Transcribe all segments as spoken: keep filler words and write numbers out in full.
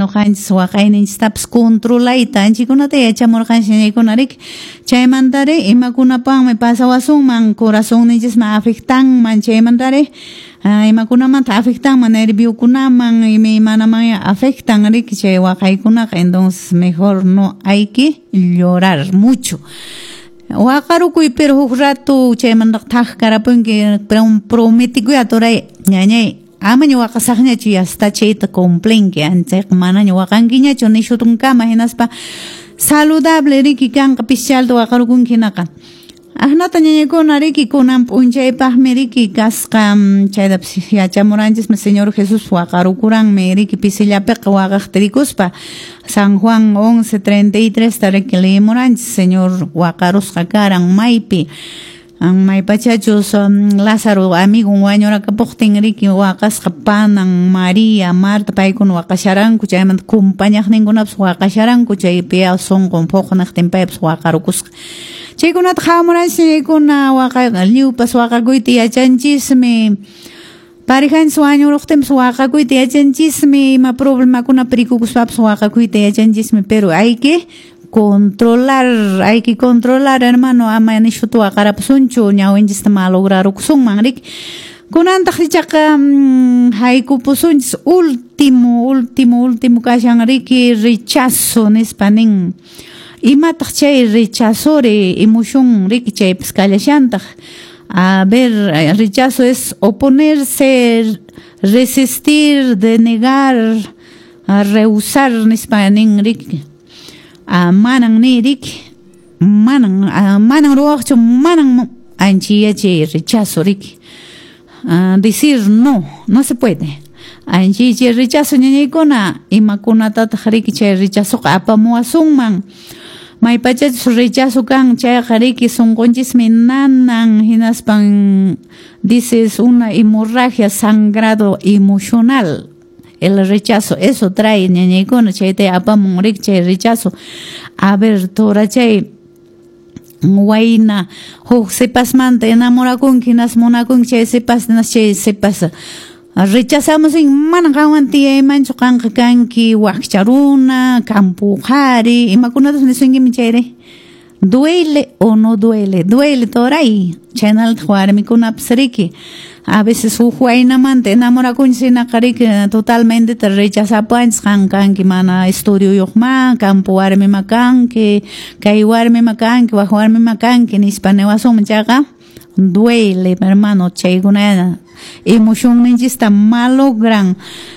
Noqanchis waqayninchistapas controlayta anchikunata yachamurqanchis ñañaykuna riki. Chaymantari imakunapaqmi pasawasunman corazonninchisman afectanman, chaymantari imakunamanta afectanman nerviokunaman imaymanaman afectan riki chay waqaykunaqa. Entonces mejor no hay que llorar mucho. Waqarukuy pero huk rato chaymantaqa thak karapunki, prometikuy aturay ñañay amaña waqasaqñachu, ya está chayta cumplinki, chayqa manaña waqankiñachu nishutunkama, hinaspa saludable riki kanqa pischalta waqarukunki hinaqa. Ahnata ñañaykuna riki kunan p'unchaypaqmi riki kasqa, chaytapas yachamuranchismi Señor Jesús waqarukuranmi riki pisillapiqa waqaqta rikuspa. San Juan once treinta y tres ta riki leemuranchis Señor waqarusqa karan maypi. Maypachachus Lázaro amigon wañurakapuqtin riki waqasqa panan María, Marta paykuna waqasharanku, chaymanta kumpañaqninkunapas waqasharanku, chaypi sunqun phuqnaqtin paypas waqarukusqa. Chaykunata qhawamuranchis ñañaykuna waqa lliwpas waqakuyta yachanchismi. Parejanchis wañuruqtinpas waqakuyta yachanchismi, ima problemakunapi rikukuspapas waqakuyta yachanchismi, pero hay que controlar, hay que controlar, hermano, ama nishuta waqarapusunchu, ñawinchista malograrukusunman riki. Kunantaq ichaqa haykupusunchis último, último, último kashan riki rechazo nispa nin. Imataq chay rechazore emoción riki chaypas kallashantaq. A ver, rechazo es oponerse, resistir, denegar, rehusar nispa nin riki. Manan ni riki, manan, manan ruwaqchu, manan anchiya chay rechazo riki. Decir no, no se puede. Anchi chay rechazo ñañaykuna, imakunatataq riki chay rechazoqa apamuwasunman. Maypachachus rechazo kan chayqa riki sunqunchismi nanan, hinaspan dices una hemorragia, sangrado emocional. El rechazo, eso trae ñañaykuna, chayta apamun riki chay rechazo. A ver, tora chay wayna huk sipasmanta enamorakunki, hinas munakunki chay sipas, hinas chay sipas rechazamos manan qanwan tiyaymanchu, qanqa kanki wakcha runa, campo qhari, imakunatas nisunkimi chayri. Duele o no duele, duele toray, chaynaltaq warmikunapas riki. A veces huk waynamanta enamorakunchis hinaqa riki totalmente te rechazapuanchis, qan kanki mana estudioyuqma, campo warmima kanki, kay warmima kanki, wak warmima kanki nispa niwasunman chayqa duele, hermano, chaykuna emocionninchista malogran.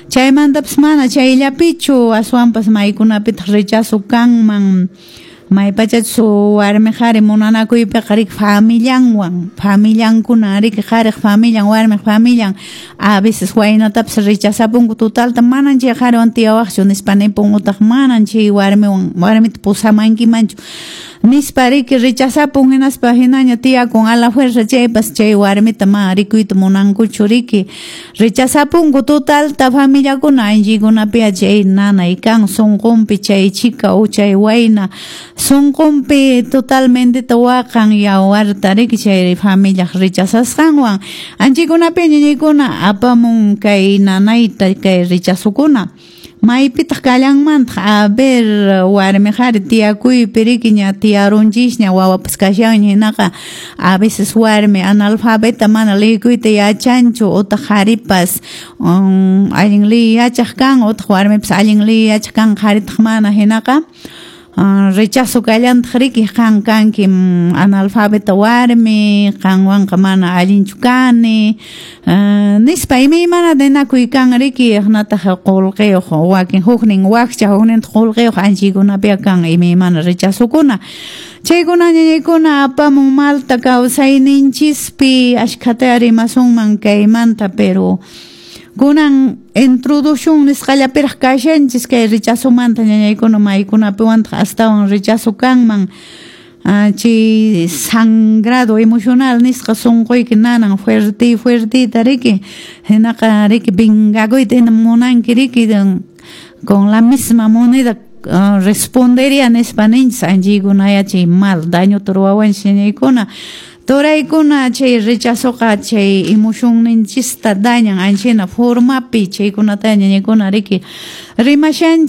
Chaymantapas mana chayllapichu, aswanpas maykunapitaq rechazo kanman. Maypachachus warmi qhari munanakuypiqa riki familianwan, familiankuna riki qhariq familian, warmiq familian, a veces waynatapas rechazapunku totalta, manan chay qhariwan tiyawaqchu nispa nipun, utaq manan chay warmiwan, warmita pusamankimanchu nispa riki rechazapun, hinaspa hinaña tiyakun a la fuerza chaypas chay warmita ma rikuyta munankuchu riki. Rechazapunku totalta familiakuna, anchikunapiya chay nanay kan sunqunpi chay chica o chay wayna sunqunpi totalmente waqan yawarta riki chay familiaq rechazasqanwan. Anchikunapi ñañaykuna apamun kay nanayta kay rechazokuna. Maypitaq kallanmantaq, a ver, warmi qhari tiyakuypi riki ña tiyarunchisña wawapas kashanña hinaqa a veces warmi analfabeta mana liyakuyta yachanchu, utaq qharipas um, allin liy yachaq kan, utaq warmipas allin liy yachaq kan, qharitaq mana hinaqa Uh, rechazo kallantaq riki, qan kanki analfabeta warmi, qanwanqa mana allinchu kani, uh, nispa imaymana ninakuy kan riki, hinataq qullqiyuq wakin huknin wakcha huknintaq qullqiyuq anchikunapiya kan imaymana rechazokuna. Chaykuna ñañaykuna apamun malta kawsayninchispi, ashkhata rimasunman kaymanta, pero kunan introducción nisqallapiraq kashanchis kay rechazomanta ñañaykuna, maykunapiwantaq astawan rechazo kanman. Chay sangrado emocional nisqa sunquyki nanan fuerte fuertita riki, hinaqa riki vengakuyta hina munanki riki, con la misma moneda uh, respondería nispa ninchis anchiykunaya chay mal dañota ruwawanchis ñañaykuna. Turaykuna chay rechazoqa chay emocionninchista dañan anchina formapi, chaykunata ñañaykuna riki rimashanchis.